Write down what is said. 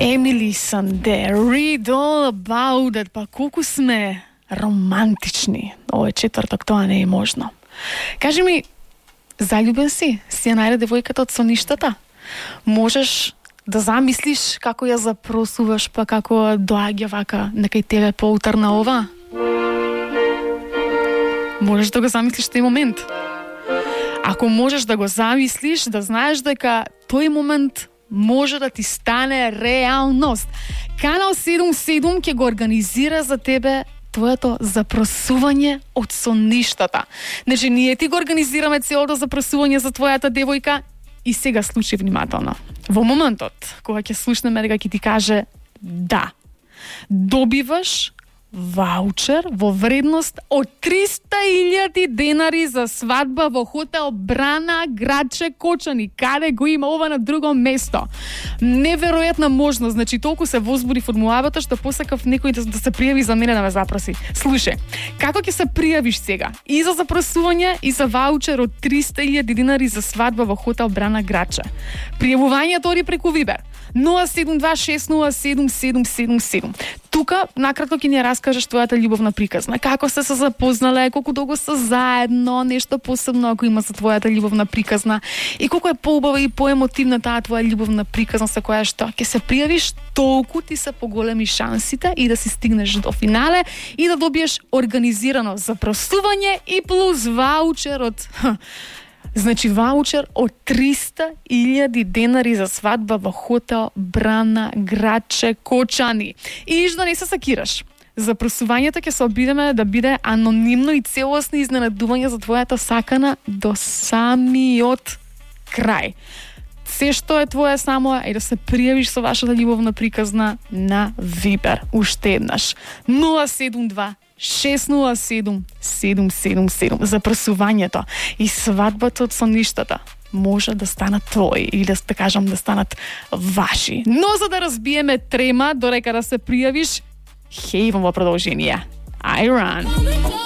Емили Санде, Read All About It. Па колку сме романтични. Овој четврток тоа не е можно. Кажи ми, заљубен си? Си ја најде девојката од соништата? Можеш да замислиш како ја запросуваш, па како доаѓа вака некај тебе поутрна ова? Можеш да го замислиш тој момент? Ако можеш да го замислиш, да знаеш дека тој момент може да ти стане реалност. Канал 77 ќе го организира за тебе твоето запросување од соништата. Значи, ние ти го организираме целото запросување за твојата девојка и сега слушај внимателно. Во моментот кога ќе слушнеме дека ќе ти каже да, добиваш ваучер во вредност од 300.000 денари за свадба во хотел Брана, градче Кочани. Каде го има ова на друго место? Неверојатна можност. Значи, толку се возбуди формулавата што посакав некој да се пријави за мене да ме запроси. Слушај, како ќе се пријавиш сега? И за запросување, и за ваучер од 300.000 денари за свадба во хотел Брана, градче. Пријавувањето оди преку Вибер 072607777. Тука накратко ќе ни раскажеш твојата љубовна приказна. Како сте се запознале, колку долго се заедно, нешто посебно ако има за твојата љубовна приказна и колку е поубава и поемотивна таа твоја љубовна приказна со која што ќе се пријавиш, толку ти се поголеми шансите и да си стигнеш до финале и да добиеш организирано запросување и плюс ваучер од значи ваучер од 300.000 денари за свадба во хотел Брана, градче Кочани. И да не се сакираш. Запросувањето ќе се обидеме да биде анонимно и целосно изненадување за твојата сакана до самиот крај. Се што е твое само е да се пријавиш со вашата љубовна приказна на Вибер. Уште еднаш. 072-607-777. Запросувањето и свадбата од соништата може да станат твои или да кажам да станат ваши. Но за да разбиеме трема дорека да се пријавиш, хејвам во продолжение. I run.